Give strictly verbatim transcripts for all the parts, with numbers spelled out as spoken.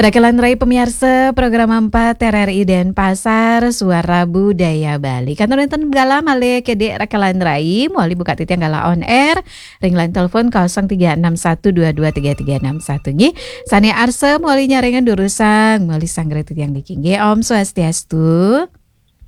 Rakelan rai pamiarsa program empat R R I Denpasar, Suara Budaya Bali. Kantos wénten galah malih Dik Rakelan rai, malih buka titiang galah on air ring line telepon kosong tiga enam satu dua dua tiga tiga enam satu nggih. Sané arsa malih nyarengin durusang malih sanggra titiang niki nggih. Om Swastiastu.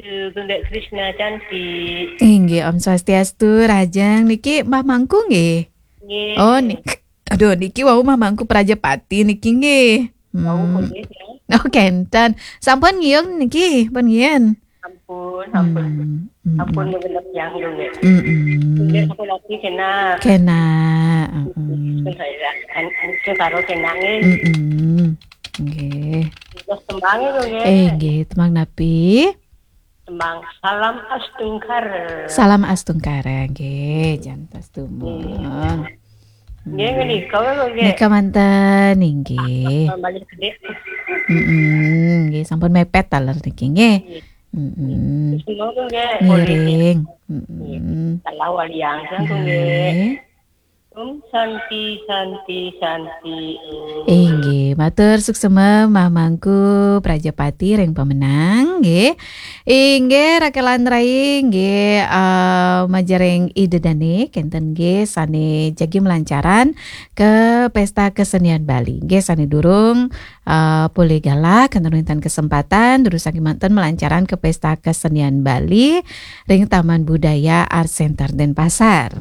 Duh, Bunda Krishna cantik. Inggih, Om Swastiastu, rahajeng niki Mbah Mangku nggih. Nggih. Oh, nik-, aduh, niki wau Mbah Mangku Prajapati niki nggih. Wau, hmm, nggih, ya. Oh, kénten. Sampun ngiung niki, pun ngiyen. Ampun, ampun. Hmm, hmm, ampun, hmm. Nggih, genep yang dulu, nggih. Hmm, hmm. Nggih, sampun lagi kena. Kena, hmm. Terus saya, an-, an-, terus karo kena, nggih. Hmm, hmm. Nggih. Terus tembang itu, nggih. Eh, nggih, tembang napi? Tembang Salam Astungkara. Salam Astungkara, nggih, jantos dumun. Nggih, menika lho, nggih. Nika manten, inggih. Malih gedhe. Mm-mm, nggih, sampun mepet taler niki, nggih. Nggih. Mm-mm. Terus menika, nggih, ngiring. Nggih. Mm-mm. Salah waliang, nggih. Nggih. Om Santi, Santi, Santi, Om. Inggih, matur suksema Mbah Mangku Prajapati ring Pemenang, nggih. Inggih, Rakelan rai, nggih, eh, majeng ring Ida Dane, kénten nggih sané jagi malancaran ka Pesta Kesenian Bali. Nggih, sané durung, eh, polih galah, kénten wénten kesempatan, durusang kémanten malancaran ka Pesta Kesenian Bali ring Taman Budaya Art Center Denpasar.